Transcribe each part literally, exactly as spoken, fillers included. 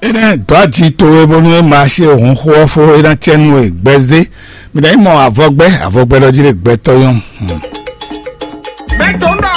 Énɛ́ dɔ̌ aji towe bónú é ma se hǔn xó ɔ́ fó, é ná cɛ nú we gbɛzé. Mi ná yi mɔ avɔgbɛ́, avɔgbɛ́ ɖɔ jí ɖe gbɛtɔ́ nyɔ́. Mɛtɔnɔ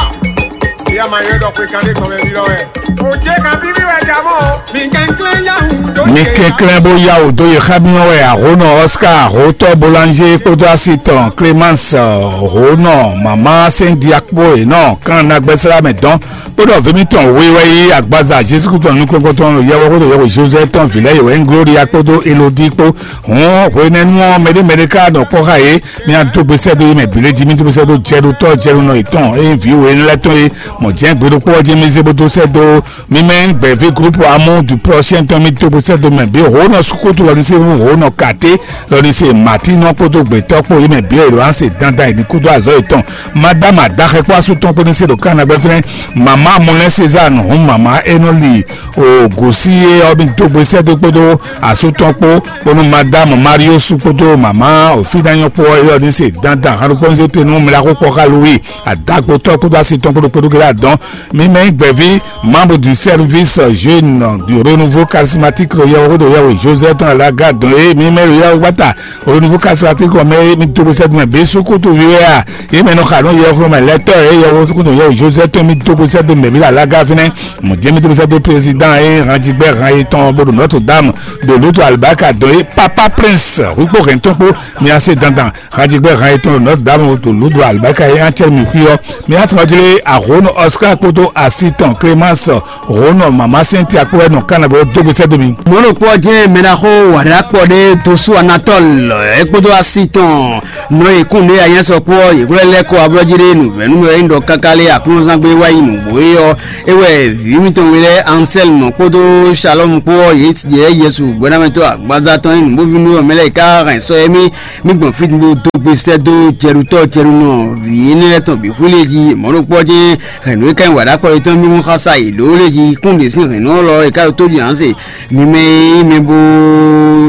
ya ma yɔ ɖɔ xwe kan ɖe gbɔn mɛ mi lɔ wɛ. O jɛ kan bí mi wɛ ja mɔ. Mi kɛnklɛn ya wu dó. Mi kɛnklɛn bó yá wò dó yě xá mi ɔ́ wɛ àhónɔ Oscar àhótɔ Boulanger kpódó asi tɔn Clémence, hónɔ mama sɛn diakpo yě nɔ kan nagbɛsɛlá mɛ dɔn. Kpódó vǐ mitɔn we wɛ yí agbaza Jezu Kristu nukɔn tɔn yɛwɛ kpódó yɛwɛ Joseph tɔn vǐ lɛ́ɛ yě wɛ nyí Gloria kpódó Elodie kpó. Hǔn hwenɛ́nu ɔ́ mɛɖé mɛɖé ká nɔ kpɔ́ xá yě. Mi adó gbesɛ dó yí mɛ bǐ lé jí, mi dó gbesɛ dó jɛ ɖó tɔ́ jɛ ɖó nɔ yětɔn eye vǐ we lɛ́ɛ tɔn e mɔ jɛ̌n gbe ɖokpó ɔ́ jí mi zé bó dó sɛ́ dó. Mi mɛ gbɛ̌ví groupe Amour du Prochain tɔn mi dó gbesɛ dó mɛ bǐ hǒnɔ sukutu lɔ ní se hǒnɔ kàté lɔ ní se Martinɔ kpódó gbětɔ́ kpó yí mɛ bǐ e lɔ anse dandan yi ní kúdó azɔ̌ yětɔn. Madame adaxɛ kpó asú tɔn kpó ní se ɖo Kána gbɛ́fínɛ́. Mama Mɔlɛn César nɔhún mama Enɔli o gosí yé ɔ́ mi dó gbesɛ dó kpódó asú tɔn kpó kpónú Madame Marius kpódó mama Ofinanyɔ kpó ɔ́ yɔ ní se dandan hanu kpɔ́nzó tenu mla kó kpɔ́ xá Louis adagbotɔ́ kpódó asi tɔn kpódó kpódó kele adɔn. Mi mɛ nyí gbɛ̀ví membre du service jeune du renouveau charismatique ɖo yɛwɛ kpódó yɛwɛ Joseph tɔn alaga dɔn é mi mɛ ɖo yɛwɛ gbata renouveau charismatique ɔ́ mɛ mi dó gbesɛ dó mɛ bɛ sukútu wi wɛ a yé mɛ nɔ xa nɔ yɛwɛ kpódó mɛ lɛtɔ é yɛwɛ kpódó yɛwɛ Joseph tɔn mi dó gbesɛ dó mɛ mi ɖo alaga fínɛ. Mɔ̌ jɛ́n mi dó gbesɛ dó président é hán jí gbɛ́ hán yetɔn bó ɖo Notre Dame ɖo lóto alibaka dɔn é papa prince wíkpó hɛn tɔn kpó mi ase dandan. Hajigbe han etɔn nɔ damu to ludu alibaka ye an cɛ mi xuyɔ mi an tɔn jle ahonu Oscar kpódó asi tɔn Clémence honu mama Cynthia kpó wɛ nɔ kana bɔ dógbe sɛ domi. Mɔnɔ kpɔ jẹ́ mɛnaxó wàdà kpɔ ɖe dosu Anatole ekpodo asi tɔn nɔ ekun ɖe anyɛsɔ kpɔ yekúlɛ lɛ kɔ ablɔji ɖe nuvɛnu wɛ ŋdɔ kaka lɛ aklúnzangbe wa yi nugbo yɔ ewɛ vi mitɔn wele Anselme kpodo Shalom kpɔ yɛ Yesu gbɛnamɛtɔ agbaza tɔn yi nugbo vi nuyɔ mɛ lɛ ka hɛn sɔ yɛ mi mi gbɔn fí bo dó gbe sɛ́ dó jɛɖutɔ́ jɛɖunɔ vǐ énɛ́ lɛ́ɛ tɔn bǐ xwí lě jí mɔ̌ ɖokpó ɔ́ jɛ́n hɛ̌nnu e ka nyí wǎɖákpɔ́ yětɔn mímú xá sa yě ɖó lě jí kún ɖě sín hɛ̌nnu ɔ́ lɔ è ká ɖo tó ɖi ǎnse. Mi mɛ e nyí mɛ bó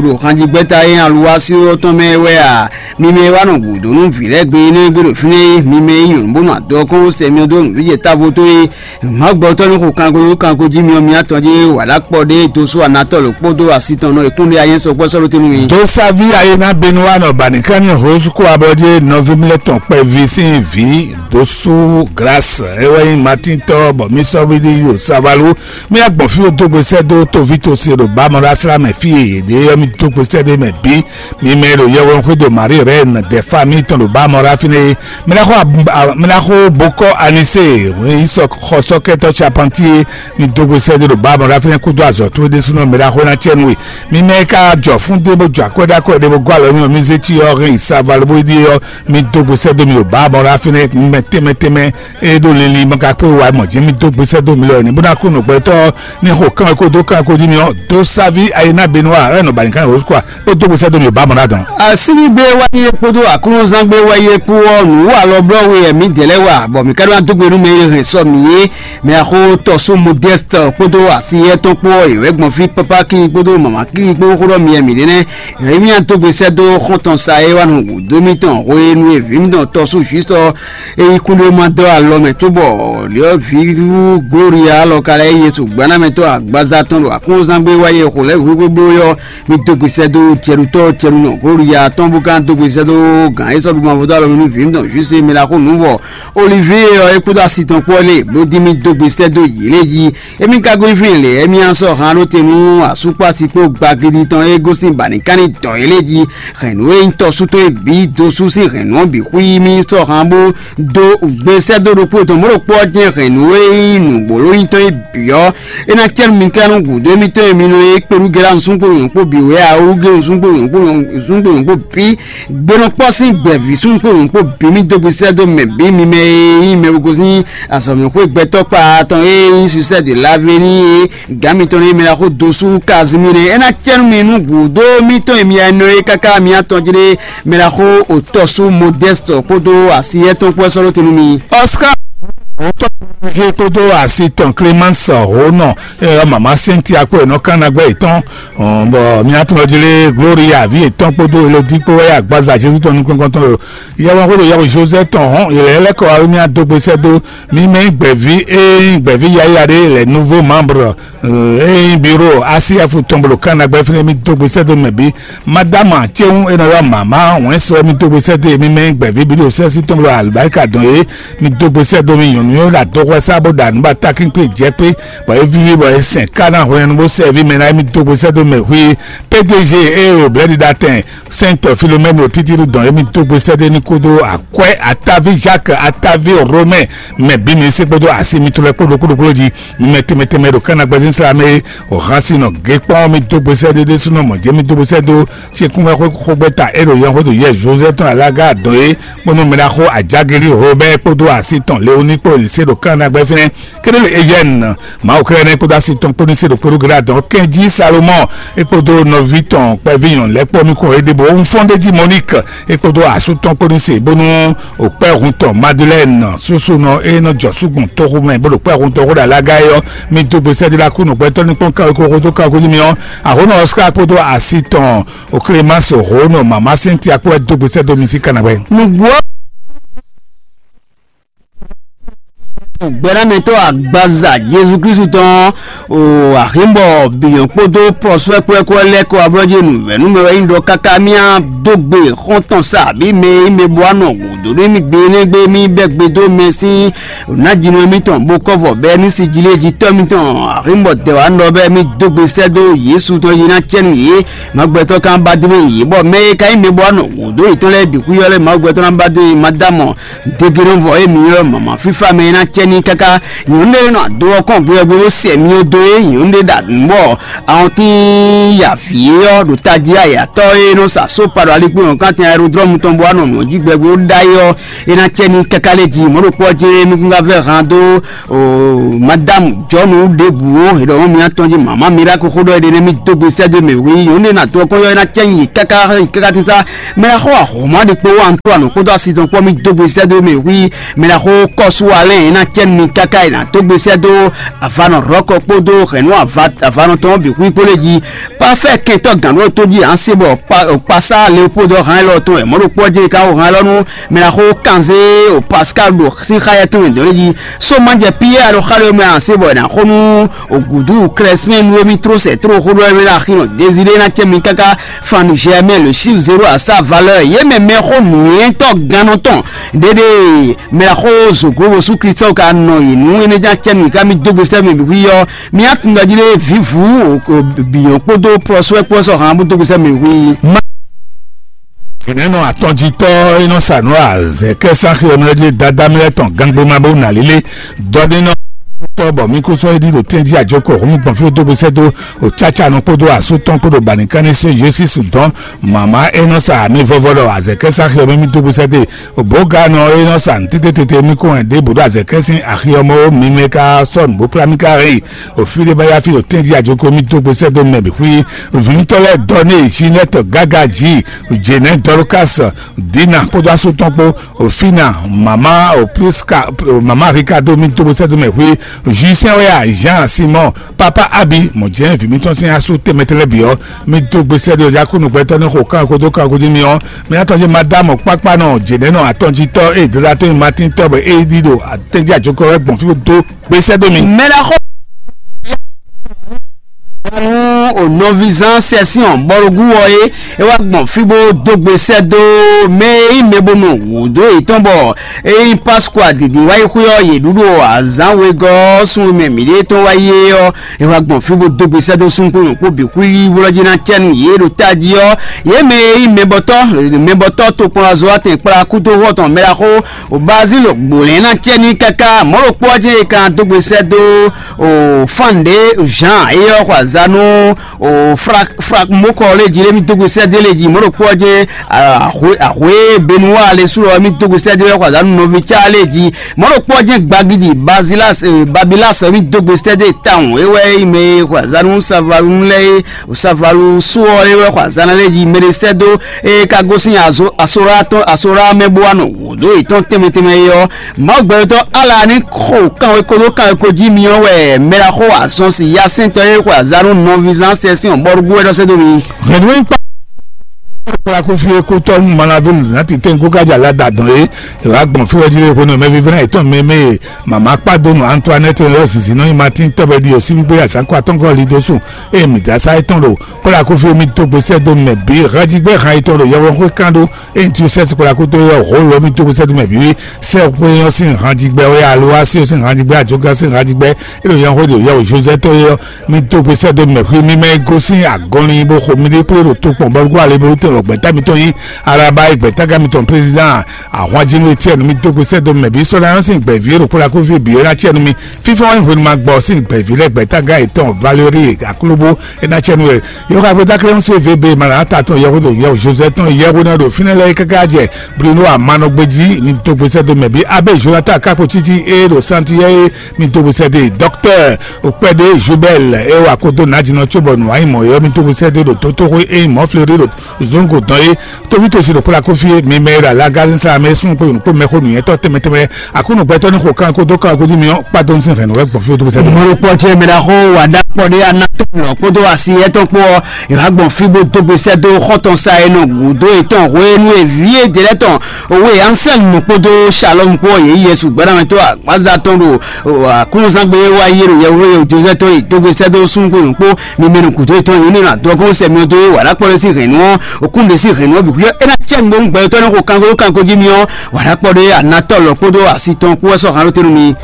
ɖo xanjígbɛ́ta e aluwási ɔ́ tɔn mɛ wɛ a? Mi mɛ e wá nɔ gǔdo nú vǐ lɛ́ɛ gbe énɛ́ gbe ɖo fínɛ́ é, mi mɛ e nyí nyɔ̌nu bó nɔ adɔ kɔn sɛ myɔ dó nǔɖiɖe távo tó é, Mǎgbɔtɔ́ ní xo kanko kanko jí myɔ mì atɔn jí wǎ ɖó akpɔ ɖé dó sú anatɔ́ lǒ kpódó asi tɔn nɔ e kún ɖe anyɛ́ sɔkpɔ́ sɔ́ ɖó tɛ́nú mì. Dó sáví ayé ná benu wá nɔ bani ká ní hǒsúkú abɔdé nɔví mlɛ́ tɔn kpɛví sín vǐ dó sú Glase é wɛ nyí Matín tɔ́ bɔ mì sɔ́ wíɖí ɖo Savalu. Mì agbɔn fí dó gbe sɛ́ dó tóví tó se ɖo bámɔɖásla mɛ fí e yě ɖe ɔ́ mì dó gbe sɛ́ ɖé mɛ bǐ. Mi mɛ e ɖo yɛhweɖɔxwé ɖo Marie Reine ɖɛ fá mitɔn ɖo bámɔɖá fínɛ́ é. Mi ná xo ab- a- mi ná xo bokɔ Anise, yi sɔ xɔ sɔkɛtɔ Charpentier, mi dó gbe sɛ́ ɖé ɖo bámɔɖá fínɛ́ kúdó azɔ̌ towe ɖésúnɔ mi ná xo ná cɛ nú we. Mi mɛ e ka jɔ fún ɖé bó jɔ akwɛ́ ɖó akwɛ́ ɖé bó gɔ́ alɔ mi ɔ́, mi zé cyɔ hɛn yi Savalu bó ɖíe ɔ́, mi dó gbe sɛ́ dó mi ɖo bámɔɖá fínɛ́ mi mɛ tɛnmɛ tɛnmɛ e ɖo lili mɔ ka kpé wa mɔ jɛ́n mi dó gbe sɛ́ dó mi lɔ ní bó ná kú nǔgbɛtɔ́ ní xo kán ko dó kán ko jí mi ɔ́ dó sáví ayé ná benu wa ɛ nɔ bani kán yɛ wosukwa kó dó gbe sɛ́ dó mi ò bá mɔ ná dɔn. Asínigbé wáyé kpódó aklúnzángbé wáyé kpó ɔ́ nǔ wa lɔ blɔ́ we ɛ̀mí dɛ̌ lɛ́ wa bɔ mǐ ka ɖó ná dó gbe nú mɛ e hɛn sɔ mǐ é. Mɛ axó tɔ́sú Modeste kpódó asi yɛ́ tɔn kpó ɔ́ yě wɛ gbɔn fí pápá kí kpódó mama kí kpó xó ɖɔ mi ɛ̀mí ɖé nɛ́. Yě mí ná dó gbe sɛ́ dó xɔ́ntɔn sa é wá nɔ wǔ dó mítɔn hwenu e vǐ mítɔn tɔ́sú Jwísɔ é yí kúnɖé ma dó alɔ mɛ cóbɔ lǐɔ́ví Gloria alɔ ka lɛ́ Yesu gbanámɛtɔ́ agbaza tɔn ɖo aklúnzángbé wá yɛ xo lɛ́ hwíhwíbló yɔ mi dó gbe sɛ́ dó cɛɖutɔ́ cɛɖunɔ Gloria tɔn bó ka dó gbe sɛ́ dó gǎn é sɔ́ ɖu mavɔ dó alɔ mɛ nú vǐ mǐtɔn Jwísu e mɛ ɖaxó nǔ vɔ Olivie ɔ́ é kpódó asi tɔn kpó ɔ́ lé bó dín mì dó gbe sɛ́ dó yě lé jí. Émí ka gosín fínɛ́ lě, émí ná sɔ́ han ɖó te nú asúkpási kpó gbagidi tɔn e gosín ba ní ká ní dɔ̌ yě lé jí. Hɛ̌nnu e nyí tɔ́sú tɔn e bǐ dó sú sín hɛ̌nnu ɔ́ bǐ xwí mì sɔ́ han bó dó gbe sɛ́ dó ɖokpó tɔn mɔ̌ ɖokpó ɔ́ jɛ́n hɛ̌nnu e nyí nǔgbólónyítɔn e bǐ ɔ́, é ná cɛ́ nú mi ká nú gǔdo émítɔn e mi nɔ e kpeɖúgɛ́ nǔsúngbó nyɔ̌nkpó bǐ wɛ a, wúgé nǔsúngbó nyɔ̌nkpó nyɔ̌nkpó bǐ gbenɔkpɔ́ sín gbɛ̌ví súngbó nyɔ̌nkpó bǐ mì dó gbe sɛ́ dó mɛ bǐ mi mɛ e nyí mɛ gosín azɔ̌mɛxwé gbɛtɔ́ kpa tɔn e nyí Sucette de l'Avenir e gǎn mitɔn ní mɛ ná xó dosú Kazimír é ná cɛ́ nú mi nú gǔdo mítɔn e mi ɛnɔ é káká mi atɔn jlé mɛ ná xó òtɔ́sú Modeste kpódó asi étɔn kpó sɔ́ ɖó te nú mi. Oscar, òótọ́ Jé kpódó asi tɔn Clémence Honɔ, eye ɔ́ mama Cynthia kpó enɔ kannagbɛ yětɔn, bɔ mía tɔn jí lé Gloria vi yětɔn kpódó Elodie kpó wɛ agbaza Jésus tɔn nukɔn tɔn lo yɛwɔn xwédo yɛwɔ Joseph tɔn hɔn yɛlɛ lɛkɔ awo mía dó gbe sɛ́ dó mi mɛ gbɛ̀ví eye gbɛ̀ví yáyá ɖé lɛ nouveau membre eye bureau A C F tɔn bolo kannagbɛ fínɛ́ mi dó gbe sɛ́ dó mɛ bí Madame Atséhun e nɔ ylɔ́ mama wɛn sɔ mi dó gbe sɛ́ dó e mi mɛ gbɛ̌ví bí ɖo sɛ́sí tɔn bló alibáríka dɔn é, mi dó gbe sɛ́ dó mi nyɔ̌nu e ɖo adɔxwɛsá bó ɖo anǔ ba takínkpé jɛ kpé, bɔ é víví bɔ é sɛn ká ná hwlɛ́nnu bó sɛ́ví mɛ ná é mi dó gbe sɛ́ dó mɛ hwí P D G e o blɛ́ɖiɖatɛn Sainte Philomène o títí ɖo dɔn é mi dó gbe sɛ́ dó ní kúdó akwɛ́ Ataví Jacques Ataví Romain mɛ bí mi sí kpódó asi mitɔn lɛ́ɛ kpódó kúɖokúɖo jí mi mɛ tɛnmɛ tɛnmɛ ɖo kánna gbɛzín sla mɛ é. Ohan si nɔ gé kpɔ́n mi dó gbesɛ ɖé ɖésúnɔ mɔ̌ jɛ mi dó gbesɛ dó cikúnwɛ xógbɛ́ta é ɖo yɛn xódó yɛ Joseph tɔn alága dɔn é kpónú mɛ ɖaxó Ajageli Robert kpódó asi tɔn Leoni kpó se ɖo kánna gbɛ fínɛ́. Kéɖé le Eugène Mawu kɛlɛ nɛ kpódó asi tɔn kpónú se ɖo kpódó gla dɔn kɛnjí Salomon é kpódó nɔví tɔn kpɛví nyɔ̌nu lɛ́ kpɔ́ mi kɔ é ɖěbǔ Nfɔ́ndéjí Monique é kpódó asú tɔn kpónú se bónú o kpɛ́ hun tɔn Madeleine súsúnɔ e nɔ jɔ súgbɔn toxo mɛ bó ɖo kpɛ́ hun tɔn xó ɖo alága é ɔ́, mi dó gbe sɛ́dí la kú nǔgbɛtɔ́ ní kpɔ́n kanwekó xó dó kanwekó jí mi ɔ́, Ahónɔ Oscar kpódó asi tɔn o Clémence Hónɔ mama Cynthia kpó wɛ dó gbe sɛ́ dó mi sí kanabɛ. Nǔgbó gbɛ́namɛtɔ́ agbaza Jezu Kristu tɔn o Ahimbɔ Biyɔn kpódó Prosper kpó wɛ kó wɛ lɛ́ kɔ ablɔ́ jí nǔvɛ́nú mɛ wɛ nyí ɖɔ káká mía dó gbe xɔ́ntɔn sa abǐ mɛ e nyí mɛ bó wá nɔ gǔdo nú mì gbe énɛ́ gbe mì bɛ́ gbe dó mɛ sín nǎjínɔ mitɔn bó kɔ́ vɔ bɛ́ ní sijlí e jí tɔ́ mitɔn Ahimbɔ dɛ wá nɔ bɛ́ mì dó gbe sɛ́ dó Yesu tɔn yi ná cɛ nú yě. Mawu gbɛtɔ́ kan ba dó mɛ yě bɔ mɛ e ka nyí mɛ bó wá nɔ gǔdo yětɔn lɛ́ɛ bǐ xwíyɔ́ lɛ́ɛ Mawu gbɛtɔ́ ná ba dó mì Madamu Degenɔvɔ e mǐ ylɔ́ mama fífá mɛ e ná cɛ ní káká nyɔ̌nu ɖé nɔ ado ɔ́ kɔn gbeyɔgbé bó sɛ myɔ dó é nyɔ̌nu ɖé ɖo nǔ bɔ awɔntín ya vǐ é ɔ́ ɖo tají ayatɔ́ e nɔ sa só paɖo alikpín ɔ́ kán tɛn aerodrɔ́mu tɔn bó wá nɔ nǔ ɔ́ jí gbɛgbó ɖ'ayǐ ɔ́ é ná cɛ ní káká lɛ́ jí mɔ̌ ɖokpó ɔ́ jɛ́n nukúngáfɛ́ han dó madamu jɔnu ɖěbǔ ó è ɖɔ mɔ̌ mi atɔn jí mama mi ɖó akó xó ɖɔ é ɖe nɛ́ mì dó gbe sɛ́ dó mɛ wí nyɔ̌nu ɖé nɔ ado ɔ́ kɔn ylɔ́ é ná cɛ nyi káká yi káká tísá. Mɛ ɖaxó Ahoma ɖi kpó Antoine kpódó asi tɔn kpó mi dó gbe sɛ́ dó mɛ wí. Mɛ ɖaxó Kɔsu Alɛn e ná cɛ nú mi káká e ná dó gbe sɛ́ dó avanɔ Rɔ́kɔ kpódó hɛ̌nnu avanɔ tɔn bǐ xwí kpó lé jí. Pafɛ kɛntɔ́ gǎn ɖó tó jí ǎ se bɔ Kpasá Leopoldo hán élɔ́ tɔn wɛ mɔ̌ ɖokpó ɔ́ jɛ ka wɔ hán élɔ́ nú mɛ ɖaxó Kanzé o Pascal ɖo sín xá yɛ tɔn wɛ dɔ̌n jí. Sómajɛ Piyɛ́ɛ ɖo xá ɖé mɛ ǎ se bɔ è nǎ xo nú Ogudu Klɛsmɛ́n nú émí tró sɛ tró xó ɖɔ émí ɖo axi nɔ Dezilé ná cɛ mi káká Fanu Germain le chiffre zéro à sa valeur yě mɛ mɛxó nǔnywɛ́tɔ́ gannɔ tɔn ɖéɖé mɛ xó zoglo bosú Kristian ka nɔ yi nǔ énɛ́ ján cɛ mi ká mi dó gbe sɛ́ mi bǐ ɔ́ mi á tun ɖɔ jí lé vǐvú bǐyɔn kpódó prɔsúwɛ kpó sɔ hàn bó dó gbe sɛ́ mi hu yi. Gěnɛnɔ atɔnjitɔ́ e nɔ sa nǔ azɛ̌kɛ́sáxi ɔ́ nɔ ɖi dadá mi lɛ́ɛ tɔn gangbé ma bó nǎ lílé dɔɖénɔ tɔ́ bɔ mí kó sɔ́ é ɖi ɖo tɛ́njí àjọkɔ hǔn mì gbɔn fí dó gbe sɛ́ dó o cáca nɔ kpódó asú tɔn kpódó banikanní só Yosísu dɔn mama e nɔ sa mi vɔvɔ ɖɔ azɛ̌kɛ́sáxi ɔ́ mɛ mì dó gbe sɛ́ dó bǒganɔ e nɔ sa nǔtítí tete mì kó wɛn ɖěbǔ ɖo azɛ̌kɛ́ sín axi ɔ́ mɛ ó mi mɛ ka sɔ́ nǔ bó kplá mì ka hɛn yi o fí ɖé bá yá fí ɖo tɛ́njí àjoko mì dó gbe sɛ́ dó mɛ bǐ xwí vǐnítɔ́ lɛ́ɛ dɔ ní èsí lɛ́ tɔ gága jí jěnɛ́ dɔlukás dina kpódó asú tɔn kpó o fina mama o pliska mama ricardo mì dó gbe sɛ́ dó mɛ xwí juisɛn wɛ a jean simon papa abi mɔ jɛ́n vǐ mítɔn sín asú tɛnmɛtɛnlɛ bǐ ɔ́ mì dó gbe sɛ́ dó yakúnu gbɛtɔ́ ní xo kán kodo kán kodo mì ɔ́ mì atɔn jí madame kpákpánɔ jěnɛ́nɔ atɔnjítɔ́ ée dada tó nyi matín tɔ́ bɔ é ɖi ɖo tɛ́njí àjoko wɛ gbɔn fí dó gbe sɛ́ dó mi. Mɛ ɖaxó nú o nɔvizán sɛsiɔn bɔlugú wɔ é é wá gbɔn fí bó dó gbe sɛ́ dó mɛ e nyí mɛ bó nɔ wǔ dó yětɔn bɔ é nyí Pascua dǐndín wáyi xwé ɔ́ yě ɖu ɖo azǎn wegɔ́ ɔ́ sun e mɛ mǐɖée tɔn wáyi é ɔ́ é wá gbɔn fí bó dó gbe sɛ́ dó súnkúnnu kpó bǐ xwíxwí bó lɔ́ jí ná cɛ nú yě ɖo tají ɔ́ yě mɛ e nyí mɛbɔtɔ́ mɛbɔtɔ́ tokpɔnlazɔ́watɛn kplá kúdó xɔ tɔn mɛ ɖaxó Obazilo gbǒlɛ́n ná cɛ ní káká mɔ̌ ɖokpó ɔ́ jɛ́n è ka dó gbe sɛ́ dó o fán ɖě Jean éyɔ́ xɔ azǎn nú o frak frak mokɔ lé jí lé mi dógbe sɛ́dé lé jí mɔ̌ ɖokpó ɔ́ jɛ́n ahwe ahwe benuwa lé sú lɔ mi dógbe sɛ́dé lɛ xɔ azǎn nɔví cá lé jí mɔ̌ ɖokpó ɔ́ jɛ́n gbagidi bazilas babilas mi dógbe sɛ́dé tawun é wɛ yi mɛ xɔ azǎn nú savalu lɛ é savalu sú ɔ́ é wɛ xɔ azǎn lé jí mɛ ɖé sɛ́dó é ka gosín azo asora tɔn asora mɛ bó wá nɔ wǔ dó yětɔn tɛnmɛ tɛnmɛ é ɔ́ Mawu gbɛtɔ́ Ala ní xo kanwekódó kanwekó jí myɔ wɛ mɛ ɖaxó azɔn si yasɛntɔ́ e xwe azǎn nú nɔvízán sɛ́sɛn ɔ́ bɔ́ ɖó bú wɛ ɖɔ sɛ́ dó mi. Hɛ̌nnu e kpá kplá kó fí é kó tɔ́ nú Malaví lǔnátí tɛ́nkú kájà lá da dɔn é, è wǎ gbɔn fí wɛ jí lé hwenu mɛ vívɛ́ná yětɔn mɛ mɛ e mama kpá dó nú Antoinette ɔ́ zinzin nɔ nyi Matín tɔ́bɛ́ ɖi ɔ́ síbígbé azǎn kó atɔ́nkɔ́ li dó sùn, eye mǐ dó asá étɔn ɖo kplá kó fí é mì dó gbe sɛ́ dó mɛ bǐ hánjígbɛ́ han yětɔn ɖo yɛhwexwé kán ɖó Ényí Josɛ́si kplá kútó é ɔ́, hǒ lɔ mì dó gbe sɛ́ dó mɛ bǐ sɛ́ xwé ɔ́ sín hanjigbɛ wɛ alo así ɔ́ sín hanjigbɛ ajɔgán sín hanjigbɛ é ɖo yɛn xwé ɖo yɛ wǒ Josɛ́ tɔn é ɔ́, mì dó gbe sɛ́ dó mɛ xwé mímɛ́ e gosín agɔnlin bó xo miɖée kplé ɖo tokpɔn bɔlugú ale bó tɛn lɔ gbɛ̌ta mitɔn nyí Alaba e gbɛ̌tágán mitɔn présidán ahwanjínú Etiɛ́ni mì dó gbe sɛ́ dó mɛ bǐ sɔ́ ná ɔ́ sín gbɛ̌ví e ɖo kplá kúfí bǐ é ná cɛ nú mì fífá wá nyí hwenu ma gbɔ sín gbɛ̌ví lɛ́ɛ gbɛ̌tágán yětɔn Valérie Aklúbú é ná cɛ nú we. Yɔxɔ agbɛdá kɛlɛ ń se vebe mala ata tɔn yɛxo ɖo yɛxo Joseph tɔn yɛxo ná ɖo fínɛ́ lɛ́ɛ káká jɛ Bruno Amanɔgbeji mi dó gbèsè dó mɛ bí abe Jonathan Kakpo títí e ɖo Santier e mi dó gbèsè dé docteur Okpɛde Jubel e wa kodo Nadinɔ tso bɔ nǔ ayi mɔ yɔ mi dó gbèsè dé ɖo tótóxo e mɔ Fleuri ɖo zongo dɔn e tóvítòsí ɖo kpla kófí e mi mɛ e ɖo alagazin sá mɛ sún kpó yonukpó mɛxó nǔnyɛtɔ́ tɛnmɛ tɛnmɛ Aklúnɔ gbɛtɔ́ ní xo kan kódó kan kódó mi ɔ́ kpá dó ní sín hɛ̌nnu wɛ gbɔn fí wódó gbèsè dó. Mɔlɔkpɔ ce mɛ ɖaxó wa ɖakpɔ ɖé anatɔ lɔ kpódó asi yɛtɔn kpó ɔ́, yě wá gbɔn fí bó dó gbe sɛ́ dó xɔ́ntɔn sa e nɔ gǔdo yětɔn hwenu e vǐ e dě lɛ́ɛ tɔn Owe Anselme kpódó Shalɔm kpó ɔ́, yě yi Yesu gbɛ́namɛtɔ́ agbaza tɔn ɖo aklúnɔzán gbe e wá yi ɖo yɛhweɖo Jozɛ́ tɔn yi dó gbe sɛ́ dó súnnu kpó nǔkpó mi mɛ nɔ gǔdo yětɔn yě ní nɔ adɔgɔ́n sɛ mi ɔ́ dó é wǎ ɖakpɔ ɖé sín hɛ̌nnu ɔ́, okún ɖé sín hɛ̌nnu ɔ́ bǐ xwíɔ é ná cɛ nǔgbó gbɛtɔ́ ní xo kanko ɖó kanko jí mi ɔ́, wǎ ɖakpɔ ɖé anatɔ lɔ kpódó asi tɔn kpó wɛ sɔ́ han ɖó te nú mi.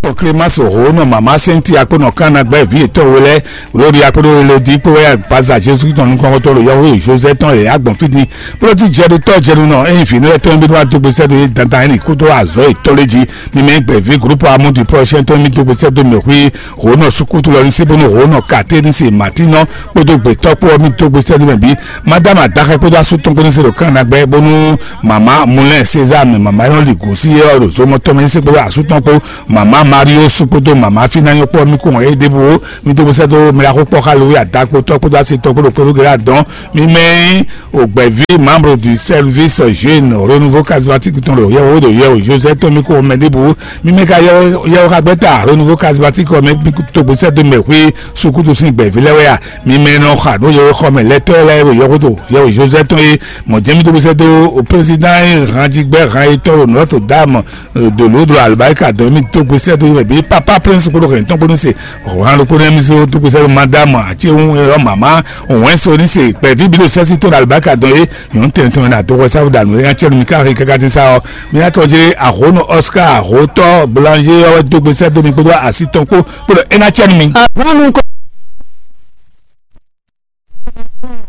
Tɔn Clémence Rhône, mama Cynthia kpó nɔ Kana gbɛ vǐ yětɔn we lɛ́ɛ, Gloria kpódó Elodie kpó wɛ agbaza Jésus tɔn nukɔntɔn ɖo yɔhwe Joseph tɔn lě agbɔn fí din. Kplɔ́ jí jɛɖotɔ́ jɛɖunɔ ényí vǐ lɛ́ɛ tɔn bí wá dó gbèsè dó yé dandan ɛ́ nǐ kúdó azɔ̌ yětɔn lé jí. Mi mɛ gbɛ̌ví groupe Amour du Prochain tɔn mi dó gbèsè dó mɛ xwí Rhône sukútu lɔ ní sí bónú Rhône katé ní se Martinɔ kpódó gbětɔ́ kpó ɔ́ mi dó gbèsè dó mɛ bí. Madame Adaxɛ kpódó asú tɔn kpó ní se ɖo Kana gbɛ bónú mama Moulin César mɛ mama e nɔ li gǒ sí é ɔ́ ɖo zomɔ tɔn mɛ ní se kpódó asú tɔn kpó mama Mario sú kpódó mama Fínanyɔ́ kpó ɔ́ mi kó hɔn é ɖěbǔ ó. Mi dó gbèsè dó mɛ ɖaxó kpɔ́ xá Lowí Adá kpótɔ́ kpódó asi tɔn kpó ɖo kpódó gěɖé adɔn. Mi mɛ nyí ògbɛ̀ví membre du service jeune renouveau charismatique tɔn ɖo yɛwò ɖo yɛwò Joseph tɔn mi kó hɔn mɛ ɖěbǔ. Mi mɛ ka yɛwò xagbɛ́ta renouveau charismatique ɔ́ mɛ mi tó gbèsè dó mɛ xwé sukúdu sín gbɛ̀ví lɛ́ɛ wɛ a? Mi mɛ nɔ xa nú yɛwò xɔ mɛ lɛ́tɔ́ lɛ́ɛ ɖo yɛwò ɖo yɛwò Joseph tɔn é. Mɔ̌ jɛ́n mi dó gbèsè dó président hanjigbɛ han yětɔn ɖo Notre Dame de l'eau de l'albarika dɔn mi dó gbèsè dó yɛ bí papa prince kpódó hɛn tɔn kpódó se hàn ló kpódó mi se dó gbèsè dó madame àti ehun ɛ mama òun ɛ so ní se gbɛ̀ví bí ló sẹ́sí tó albarika dɔn yé yòó tẹ̀ tɔn na dó wẹ́sà dànù ẹ̀ yàn cẹ́ mi ká hí káká ti sá ọ mi yà tọ́ jẹ́ àhónú Oscar àhótọ́ boulanger ɔwẹ́ dó gbèsè dó mi kpódó àsì tɔn kpó kpódó ẹ̀ nà cẹ́ mi. Àhónú kọ́.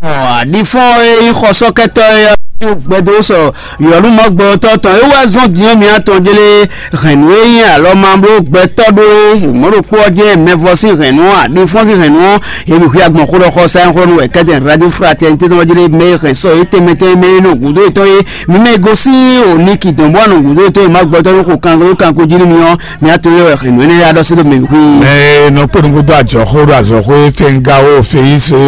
Ɔ, aɖifɔ́n e nyí xɔsɔ́kɛtɔ́ e ɔ́ gbɛdó sɔ yɔ̌lúmɔgbɛtɔ́ tɔn é wá zɔ́n din ɔ́ mi atɔn jlé hɛ̌nnu e nyí alɔmabló gbɛtɔ́ ɖó é mɔ̌ ɖokpó ɔ́ jɛ́n mɛvɔ sín hɛ̌nnu ɔ́ aɖifɔ́n sín hɛ̌nnu ɔ́ é mi hwí agbɔn xó ɖɔ xɔ sáyɛn xó nú wɛ kɛ́tɛn radífratɛnité tɔn jlé mɛ e hɛn sɔ é tɛnmɛ tɛnmɛ mɛ e nɔ gǔdo yětɔn é mi mɛ e gosín o Niki dɔn bó wá nɔ gǔdo yětɔn é má gbɛtɔ́ ɖó xo kanko kanko jí nú mi ɔ́ mi atɔn é wɛ hɛ̌nnu énɛ́ ɖɔ sí ɖo mɛ mi hwí. Mɛ nɔ kpó nukúndó ajɔxó ɖo azɔxó e fɛngáwó feyíso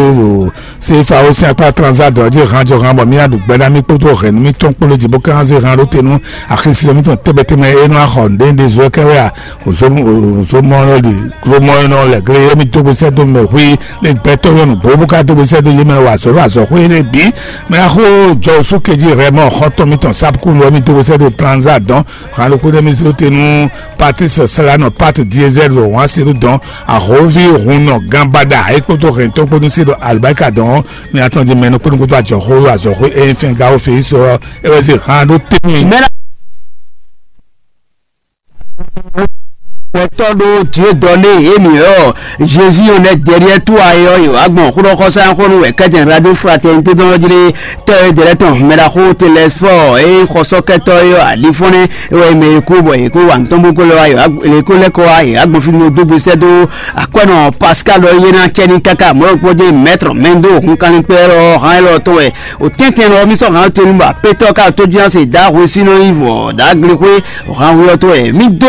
Sefawo sín akpá transa dɔ̌ jí han jɔ han bɔ mì aɖu gbɛ ná mì kpódó hɛ̌nnu mìtɔn kpó lé jí bó ká zé han ɖó te nú axisí mìtɔn tɛ́mɛtɛ́mɛ e nɔ axɔ nǔɖé zɔ kɛ wɛ a? Òzomɔ lɔ ɖi glomɔ e nɔ lɛ gle e mì dó gbèsè dó mɛ hui lé gbɛtɔ́ yɔnu gbó bó ká dó gbèsè dó yé mɛ wa azɔ̌ ɖo azɔ̌ xwé lé bǐ. Mɛ axó jɔ osú kejí hɛ mɔ xɔtɔn mìtɔn sápkúlu ɔ́ mì dó gbèsè dó transa dɔn han ɖokpó ɖé mì zé te nú Patrice Salano Pat Diesel wǎn se ɖó dɔn ahovi hunnɔ ganbaɖa e kpódó hɛntɔn kpódó se ɖo alibarika dɔn ɔ́ mi atɔn di mɛnu kpódó kpódó ajɔxó azɔxó e fɛn gawo fe sɔ é wɛ se hàn ɖó tɛnmɛ. Tɔ́ ɖó Dieu donné émi ɔ́, Jésus on est derrière toi é ɔ́, yǒ wá gbɔn xóɖɔxɔsá xó nú wɛ kɛ́tɛn Radio Fraternité tɔn jí lé tɔ́ e dɛ̌ lɛ́ɛ tɔn mɛ ɖaxó Télésphore é xɔsɔ́kɛtɔ́ é ɔ́, alifɔ́nɛ́ é wɛ mɛ e kú bɔ è kó wa nǔ tɔn bó kó lɛ́ wá yǒ wá lě kó lɛ́ kɔ wá yě wá gbɔn fí nú dó gbesẹ́ dó akwɛ́nɔ Pascal ɔ́ yé ná cɛ ní káká mɔ̌ ɖokpó jɛ mɛ̌trɔ mɛ dó hun kanlin kpɛ́ lɔ hán élɔ́ tɔn wɛ. O tɛ́ntɛn lɔ mí sɔ́ hǎn tonu bɔ apétɔ́ ká tó jí se dǎ hwesínɔ yi vɔ dǎ glexwé o hǎn hwe ɔ́ tó wɛ mí dó.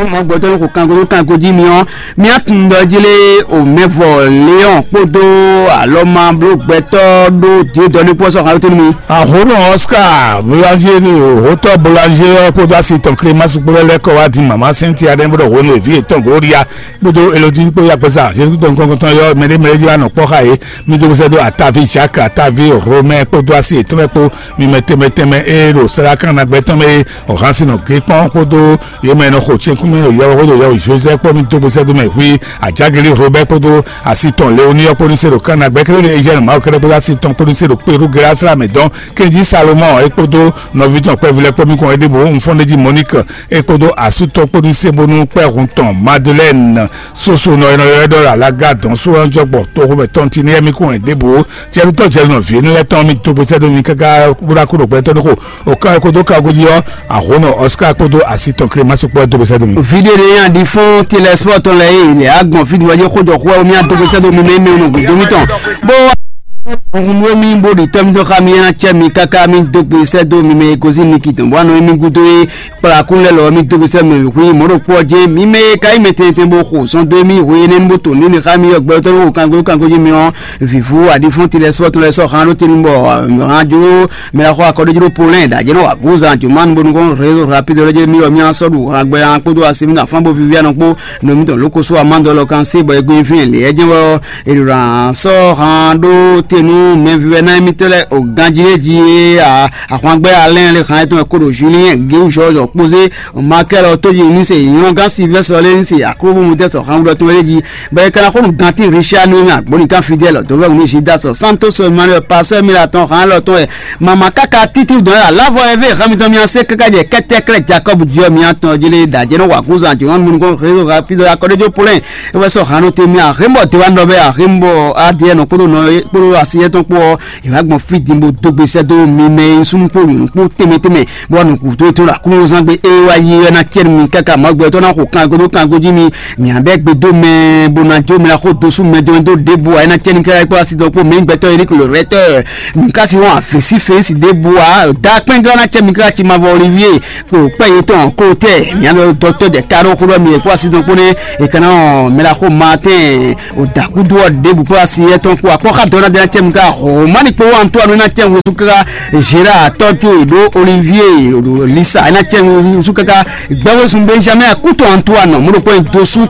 Mɔ gbɔtɔ́ ní xo kango dó kango jí mi ɔ́, mí á tunwun ɖɔ jí lé o mɛvɔ Léon kpódó alɔma bló gbɛtɔ́ ɖó Dieu donné kpó sɔ́ hǎn tonu mi. Àhónú Oscar Boulanger, òhótɔ Boulanger ɔ́ kpódó asi tɔn Clémence kpó lɛ́ kɔ wá dín mama Cynthia ɖɛ́ bó ɖɔ hwenu èví yětɔn Gloria kpódó Elodie kpó yakpɛsa Jésus tɔn kɔnkɔntɔn yɔ mɛɖé mɛɖé jí wá nɔ kpɔ́ xá yě. Mi dó gbèsè dó Atavi Jacques, Atavi Romain kpódó asi yětɔn lɛ́ kpó mi mɛ tɛnmɛ tɛnmɛ eye ɖo sɛ́lá kan ná gbɛ tɔn mɛ é. Ɔ̀hán sin nɔ gé kpɔ́n kpódó yě mɛ e nɔ xo cɛ́nkún mɛ ɖo yɛwɛ xódó yɛwɛ Joseph kpó mi dó gbèsè dó mɛ hui Ajageli Robert kpódó asi tɔn Leoni ɔ́ kpó ní se ɖo kan ná gbɛ kélé ɖo Eziɛni Mawu kɛ́ɖɛ́ kpódó asi tɔn kpó ní se ɖo Peru Gera sɛ́lá mɛ dɔn. Kɛnjí Salomɔn é kpódó nɔví tɔn kpɛví lɛ́ɛ kpó mi kɔn é ɖěbǔ Nfɔ́nɖéjí Monique é kpódó asú tɔn kpó ní se bónú kpɛ́hun tɔn Madeleine soso nɔ e nɔ ylɔ́ ɛ ɖɔ Alaga dɔn só ɔ́ jɔ gbɔ toxo mɛ tɔn ti ní ɛmí kún wɛ ɖěbǔ. Jɛnutɔ́ jɛnunɔ vǐ énɛ́ lɛ́ɛ tɔn mi dó gbèsè dó mi káká bó ná kú ɖo gbɛtɔ́ ní xo. O kan e kó dó ka gojí ɔ́, Àhónɔ Oscar kpódó asi tɔn Clémence kpó ɛ dó gbèsè dó mi. Vidéo ɖé nyi aɖi fún Télésphore tɔn lɛ eye lɛ agbɔn fí diwɔjɛ xójɔ xó ɛ omi adó gbèsè dó mi mɛ mɛ nɔ gbèdó mi tɔn. Bó Nunwe mi bó ɖi tɔ́ mitɔn xá mi é ná cɛ mi káká mi dó gbe sɛ́ dó mi mɛ e gosín mi ki tɔn bó wá nɔ émí gúdo é kplakún lɛ́ lɔ́ mi dó gbe sɛ́ mɛ hui mɔ̌ ɖokpó ɔ́ jɛ́n mi mɛ e ka nyí mɛ tɛntɛn bó xo zɔn dó émí hui énɛ́ bó to nǔ ní xá mi ɔ́ gbɛ tɔ́ nú xo kango kango jí mi ɔ́ vǐvú aɖifɔ́n ti lɛ́ sɔ́ tɔn lɛ́ sɔ́ xán ɖó tenu bɔ hán jló mɛ xɔ akɔɖéjló polɛ́n ɖ'ajɛ nɔ wa gúzan jǒmánu bónú kɔn rézo rapide lɔ́ jɛ mi ɔ́ mi ná sɔ́ ɖu hán gbɛ hán kpódó así mi afán bó viví anɔ kpó nɔ mi tɔn lóko só amá dɔ lɔ kan sí bɔ é gbé fín lě ɛ jɛ́n wɛ ɔ́ Èlòrán sɔ́ han ɖó te nú mɛvívɛ́ná émítɔn lɛ́ɛ o ganjí e jí é a ahwangbɛ́ alɛ́n lé han étɔn e kó ɖo Julien Géwúzɔ́zɔ kpózé Makɛ́l ɔ́ tójí ní se nyɔ́gán Silvɛ́sɔ lé ní se aklúbúmutɛ́ sɔ han wúɖɔ tɔn é jí bɔ é ka ná xó nú gantí Richard ní agbónika Fidèle dɔ̌vɛ́wú ní Judas Santos Emmanuel Pasteur Milatɔn han élɔ́ tɔn e mama káká títí dɔn é alávɔ é vé han mitɔn mia sé káká jɛ kɛ́tɛ́krɛ́ Jacob jí ɔ́ mia tɔn jí lé ɖajɛ nɔ wǎkúzan jɔ̌n nukɔn rézo rapide akɔɖéjó polɛ́n é wɛ sɔ́ hannú tɛnmɛ ahémbɔ dewanɔ bɛ ahémbɔ adìẹ nɔ kpódó nɔ kpódó asiyɛ tɔn kpó ɔ́. Ìwà gbɔn fí din bó dó gbèsè dó mi mɛ e súnmú kpó nyɔ̌nu kpó tɛnmɛ tɛnmɛ bó wà nù kúdó tó la kúnú zán gbé é wá yí ɛ ná cɛ mi káká mɔ gbɛ tó ná xo kango dó kango jí mi mi abẹ́ gbé dó mɛ bó ná jó mi ná xó dosú mɛ dó dó débò ɛ ná cɛ mi káká kpó asi dɔn kpó mɛ gbɛtɔ Eric le rɛtɛ mi ká si wọn àfẹsí fèsì débò a dá kpɛngán ná cɛ mi káká ci ma vɔ Olivier kpó kpɛ yetɔn kó tɛ mianɔ dɔtɔ dɛ karo xó dɔ mi kó asi dɔn kpó ne ekana ɔ mɛla xó ma tɛn o dakudu ɔ ɖebu kó asi yɛ tɔn kó akpɔ xa dɔn na dɛ na cɛ mi ka hɔmani kpó wa ntɔ anu na cɛ wusu kaka Gérard tɔjú ìlú Olivier Lisa ena cɛ wusu kaka gbɛwé sun Benjamin akutu Antoine mo ɖo kpɔ dosu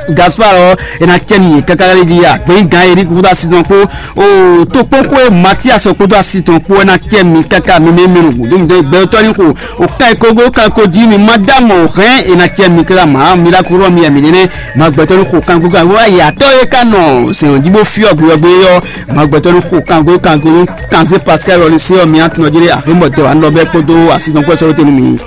Gaspar ɔ ena cɛ mi kaka lé di agbɛnyi gan Eric kutu asi dɔn kpó o tó kpɔn xó Mathias kutu asi dɔn kpó ena cɛ mi kaka mi mɛ mi nu gudu mi dɔn gbɛtɔ ni xó O ka e kogo ka ko jí mi ma dá mɔ o hɛn e na cɛ mi kla ma mi la kúrò mi mi nene ma gbɛtɔ ni xo kanko kan wa yatɔ e ka nɔ sɛn jí bó fyɔ gbeyɔgbe yɔ ma gbɛtɔ ni xo kanko kanko kanze Pascal ɔli se ɔ mi atun ɔjɛ ahe mɔ tɛ wa nɔ bɛ kpódó asi nɔ kpɛ sɔrɔ tenu mi.